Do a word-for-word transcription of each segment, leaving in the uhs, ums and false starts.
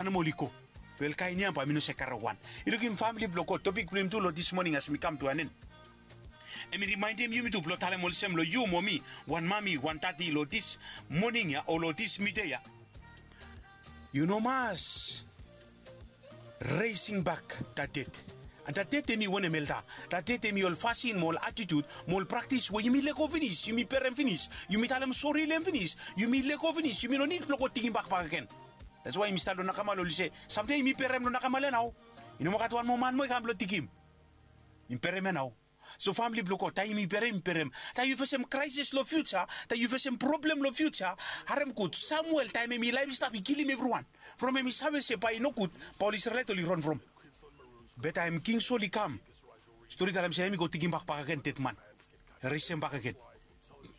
Animal i go. Wel kain ya bae mi no se kare wan. I lukim famili blong God, topik blong yumi tu long dis moning as mi kam tu an en. Em i rimaenem yumi tu blong talem olsem long yu mo mi, wan mami, wan tati long dis moning ya o long dis mide ya. Yu no mas resing bak dat ded. An dat ded em i wanem elda? Dat ded em i ol fasin mo ol atitud mo ol praktis we yumi lego finis, yumi perem finis, yumi talem sori long em finis, yumi lego finis, yumi no nid blong go tikimbak bakegen. Dats wae yumi stat long nakama long olsem samtaem yumi perem long nakama long ya nao. I no moa gat wan moa man moa i kam blong tikim. Yumi perem ya nao. So famili blong God, taem yumi perem yumi perem, taem yu fesem kraesis long fiuja, taem yu fesem problem long fiuja, harem gud. Samuel taem hem i laef i stap i kilim evriwan from hem i save se bae i nogud, bae ol Isrelaet oli ran from. Be taem King Sol i kam, stori talem se hem i go tikimbak bakegen dedman. Resem bakegen.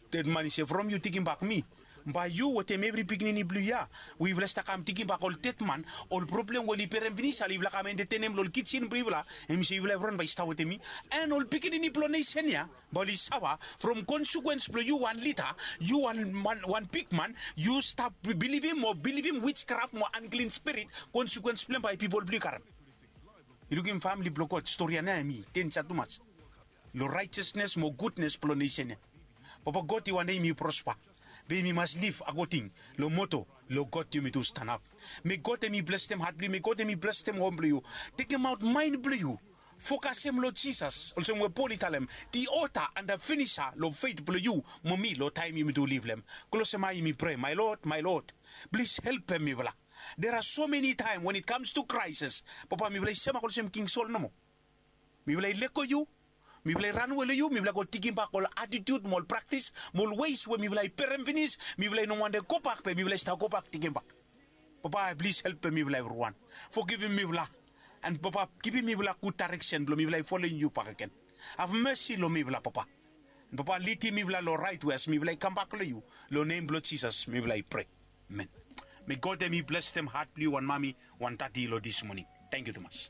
Dedman i se from yu tikimbak mi, bae yu wetem evri pikinini blong yu ya we yufala i stap kam tikimbak ol dedman, ol problem we oli perem finis, ala yufala kam entetenem long ol kijin blong yufala, hem i se yufala evriwan bae i stap wetem mi. An ol pikinini blong nesen ya bae oli sava from konsekwens blong yu wan lida, yu wan bigman, yu stap bilivim mo bilivim wijkraf mo anklin spirit, konsekwens blong hem bae pipol blong yu karem. I lukim famili blong God, stori ya nao hem i denja tumas long raejasnes mo gudnes blong nesen ya. Papa God, i wantem yumi prospa, be yumi mas liv akoding long moto long God yumi tu stanap. May God hem i blesem hat blong yu, may God hem i blesem hom blong yu. Tekemaot maen blong yu, fokasem long Jisas olsem we Pol i talem, the author and the finisher long fet blong yu mo mi long taem yumi tu liv long hem. Klosem ae yumi prea, my Lord, my Lord, plis helpem mifala. There are so many time when it comes to crisis, Papa, mifala i semak olsem King Sol nomo. Mifala i lego yu, mifala i ranwe long yu, mifala i go tikimbak ol atitud mo ol praktis mo ol weis we mifala i perem finis, mifala i no wantem gobak be mifala i stap gobak tikimbak. Papa, plis helpem mifala evriwan. Fogivim mifala. An Papa, givim mifala gud daereksen blong mifala i folem yu bakegen. Have mesi long mifala, Papa. An Papa, lidim mifala long raet we as mifala i kambak long yu. Long nem blong Jisas mifala i prea. Amen. May God hem i blesem hat blong yu wan mami, wan tati long dis moning. Tangkiu tumas.